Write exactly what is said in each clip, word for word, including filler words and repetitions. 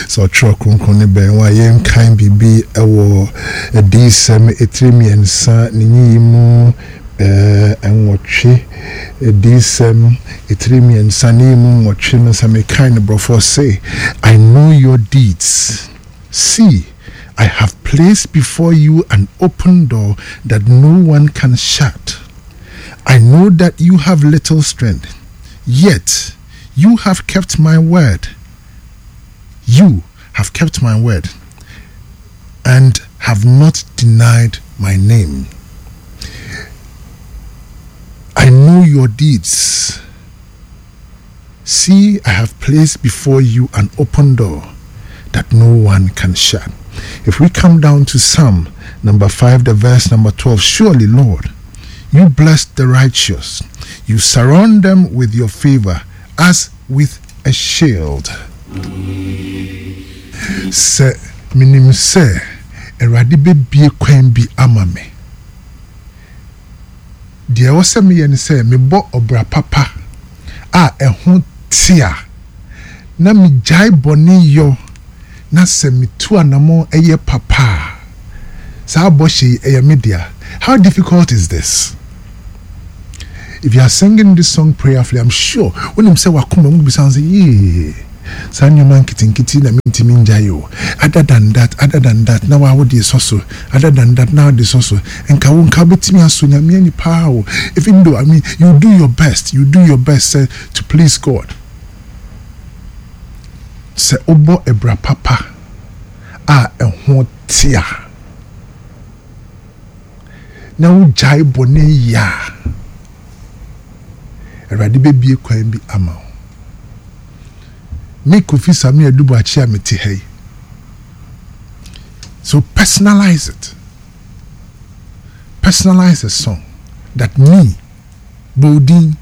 Sɛ ɔtwerɛ Kronkron no bɛn wo a, yɛnkan biribi wɔ Adiyisɛm etire mmiɛnsa ne nyiyimu nwɔtwe. Adiyisɛm etire mmiɛnsa ne nyiyimu nwɔtwe no, sɛ mekan no borɔfo, ɔse, "I know your deeds. See, I have placed before you an open door that no one can shut. I know that you have little strength, yet you have kept my word. You have kept my word and have not denied my name. I know your deeds. See, I have placed before you an open door that no one can shut." If we come down to Psalm number five, the verse number twelve, "Surely, Lord, you bless the righteous. You surround them with your favor as with a shield." Sɛ menim sɛ Awurade bɛbie kwan bi ama me, deɛ ɛwɔ sɛ meyɛ ne sɛ mebɔ ɔbra papa a ɛho te a na megyae bɔne yɔ, na sɛ metu anammɔn ɛyɛ papa a, saa bɔhyɛ yi ɛyɛ me dea. How difficult is this? If you are singing this song prayerfully, I'm sure wonim sɛ wakoma mu bisa sɛ, "Yee, saa nneɛma nketenkete na mentumi ngyae o. Other than that, other than that," na waa wode sɔ so, "other than that," na wode sɔ so, nka wo nka wobɛtumi aso Nyame ani paa o. Even though, I mean, you do your best, you do your best sɛ to please God, sɛ wobɔ ɛbra papa a ɛho te a na wogyae bɔne yi a, Awurade bɛbie kwan bi ama wo. Me Kofi Sami Adubuakye a mete ha yi, so personalize it. Personalize a song that me bɔdin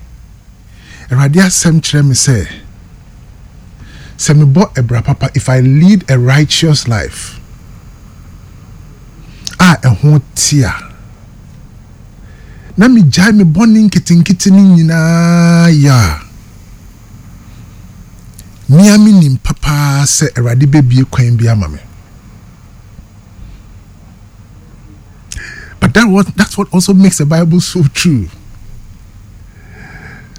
Awurade asɛm kyerɛ me sɛ sɛ mebɔ ɛbra papa, if I lead a righteous life a ɛho te a na megyae me bɔne nketenkete no nyinaa yɛ a, mea menim papaa sɛ Awurade bɛbie kwan bi ama me. But that what, that's what also makes the Bible so true.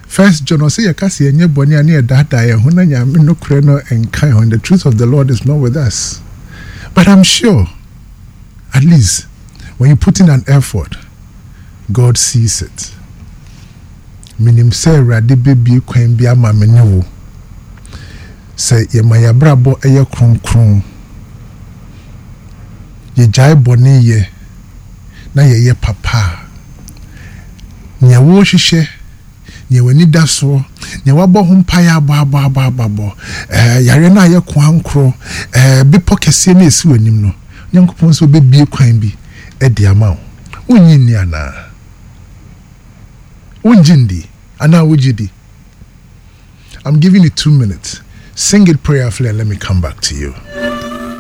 First John ɔsɛ yɛka sɛ yɛnyɛ bɔne a, ne yɛdaadaa yɛn ho na Nyame nokorɛ no nka ho, and the truth of the Lord is not with us. But I'm sure at least when you put in an effort, God sees it. Menim sɛ Awurade bɛbie kwan bi ama me ne wo sɛ yɛma yɛabrabɔ ɛyɛ kronkron, yɛgyae bɔne yɛ na yɛyɛ papa a, nea wɔrehwehwɛ, nea w'ani da soɔ, nea wabɔ ho mpaeɛ abɔ abɔ abɔ abɔ abɔ, ɛɛ yareɛ no a yɛ koa nkorɔ, ɛɛ bepɔ kɛseɛ no esi w'anim no, Nyankopɔn sɛ ɔbɛbie kwan bi ɛde ama wo. Wonnye nni anaa wongye ndi anaa wogye di? I'm giving you two minutes. Sing it prayerfully and let me come back to you.